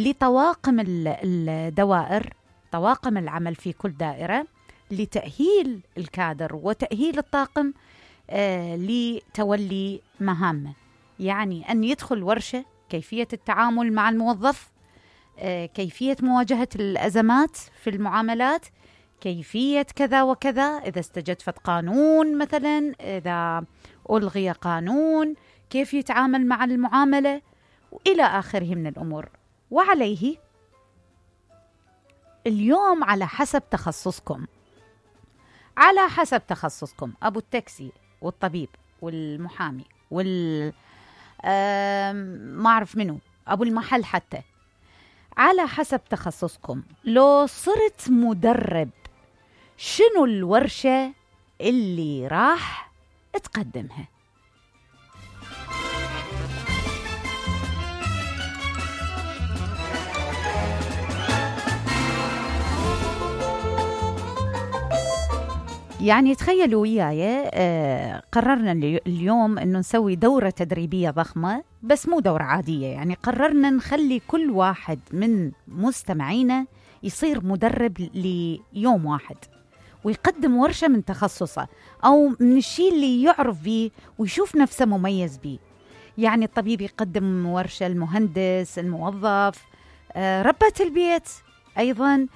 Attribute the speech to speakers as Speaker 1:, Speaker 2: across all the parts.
Speaker 1: لطواقم الدوائر، طواقم العمل في كل دائرة، لتأهيل الكادر وتأهيل الطاقم لتولي مهامه. يعني أن يدخل ورشة كيفية التعامل مع الموظف، كيفية مواجهة الأزمات في المعاملات، كيفية كذا وكذا، إذا استجدفت قانون مثلا، إذا ألغي قانون، كيف يتعامل مع المعاملة وإلى آخره من الأمور. وعليه اليوم على حسب تخصصكم، على حسب تخصصكم، أبو التاكسي والطبيب والمحامي ما أعرف منه، أبو المحل حتى، على حسب تخصصكم لو صرت مدرب شنو الورشة اللي راح تقدمها؟ يعني تخيلوا وياي قررنا اليوم أنه نسوي دورة تدريبية ضخمة، بس مو دورة عادية. يعني قررنا نخلي كل واحد من مستمعينا يصير مدرب ليوم واحد، ويقدم ورشة من تخصصه أو من الشيء اللي يعرف به ويشوف نفسه مميز به. يعني الطبيب يقدم ورشة، المهندس، الموظف، ربة البيت أيضا.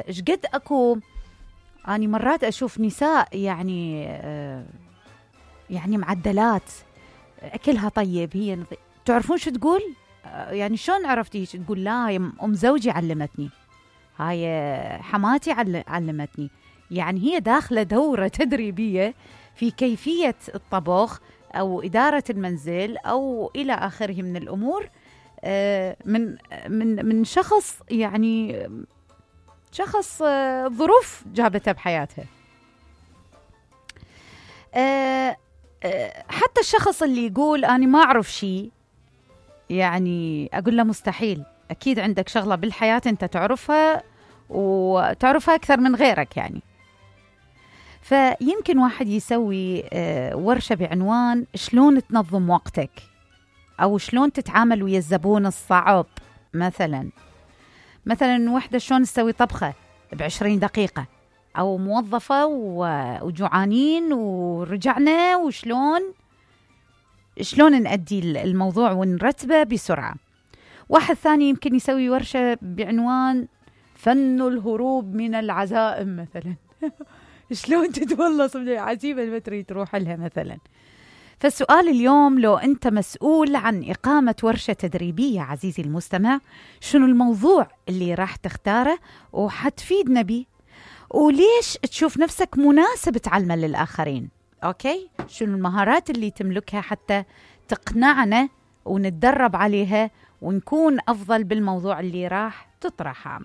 Speaker 1: قد أكو أنا مرات أشوف نساء يعني معدلات، أكلها طيب، هي تعرفون شو تقول؟ يعني شلون عرفتي؟ تقول لا هي أم زوجي علمتني، هاي حماتي علمتني. يعني هي داخلة دورة تدريبية في كيفية الطبخ أو إدارة المنزل أو إلى آخره من الأمور، من شخص، يعني شخص ظروف جابتها بحياتها. حتى الشخص اللي يقول أنا ما أعرف شيء، يعني أقول له مستحيل، أكيد عندك شغلة بالحياة أنت تعرفها وتعرفها أكثر من غيرك. يعني فيمكن واحد يسوي ورشة بعنوان شلون تنظم وقتك، أو شلون تتعامل ويا الزبون الصعب. مثلا وحدة شلون تسوي طبخة ب20 دقيقة، أو موظفة وجوعانين ورجعنا وشلون نأدي الموضوع ونرتبه بسرعة. واحد ثاني يمكن يسوي ورشة بعنوان فن الهروب من العزائم مثلا شلون تتولص من العزيمة اللي تريد تروح لها مثلا. فالسؤال اليوم، لو أنت مسؤول عن إقامة ورشة تدريبية عزيزي المستمع، شنو الموضوع اللي راح تختاره وحتفيدنا به، وليش تشوف نفسك مناسب تعلمه للآخرين؟ أوكي، شنو المهارات اللي تملكها حتى تقنعنا ونتدرب عليها ونكون أفضل بالموضوع اللي راح تطرحه.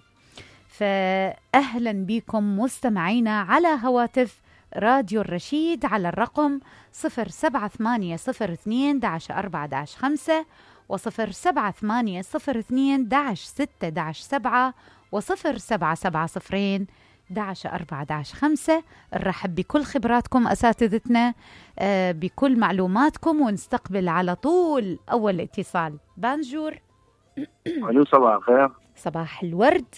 Speaker 1: فأهلا بكم مستمعينا على هواتف راديو الرشيد على الرقم 07802-4-5 و07802-6-7 و0770-11-4-5. نرحب بكل خبراتكم أساتذتنا، بكل معلوماتكم، ونستقبل على طول أول اتصال. بانجور.
Speaker 2: ألو، صباح الخير.
Speaker 1: صباح الورد.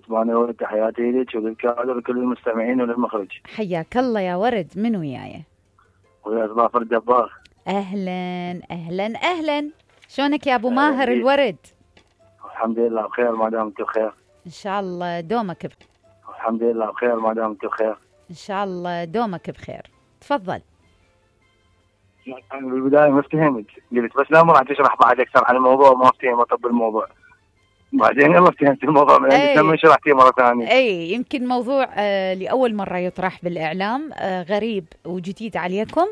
Speaker 2: ورد، تحياتي لك وللكادر وكل المستمعين وللمخرج.
Speaker 1: حياك الله يا ورد. من وياي؟
Speaker 2: ويا ظافر الدبار.
Speaker 1: أهلا أهلا أهلا. شلونك يا أبو ماهر الورد؟
Speaker 2: الحمد لله بخير ما دامت بخير.
Speaker 1: إن شاء الله دومك بخير.
Speaker 2: الحمد لله بخير ما دامت بخير.
Speaker 1: إن شاء الله دومك بخير. تفضل.
Speaker 2: أنا بالبداية ما فهمت، قلت بس لا ما راح تشرح بعد أكثر عن الموضوع، ما فهمت طب الموضوع. بعدين يلا فهمت الموضوع من عندك لما شرحتيه مرة ثانية.
Speaker 1: أي يمكن موضوع لأول مرة يطرح بالإعلام، غريب وجديد عليكم.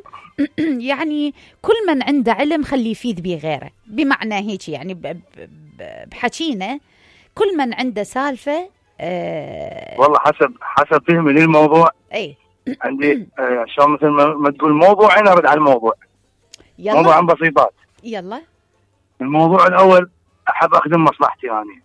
Speaker 1: يعني كل من عنده علم خليه يفيد به غيره، بمعنى هيك يعني بحكينا كل من عنده سالفة.
Speaker 2: والله حسب فهمي للموضوع.
Speaker 1: أي
Speaker 2: عندي شلون مثل ما تقول موضوع، أنا أرد على الموضوع.
Speaker 1: يلا.
Speaker 2: موضوع عن بسيطات.
Speaker 1: يلا.
Speaker 2: الموضوع الأول، أحب أخدم مصلحتي أنا.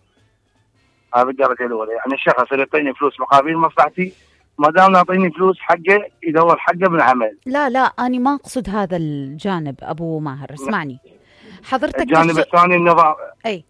Speaker 2: هذا بالدرجة الأولى. يعني الشخص اللي يعطيني فلوس مقابل مصلحتي، ما دام يعطيني فلوس حقه يدور حقه بالعمل.
Speaker 1: لا أنا ما أقصد هذا الجانب أبو ماهر، اسمعني حضرتك.
Speaker 2: الجانب الثاني النظام.
Speaker 1: أي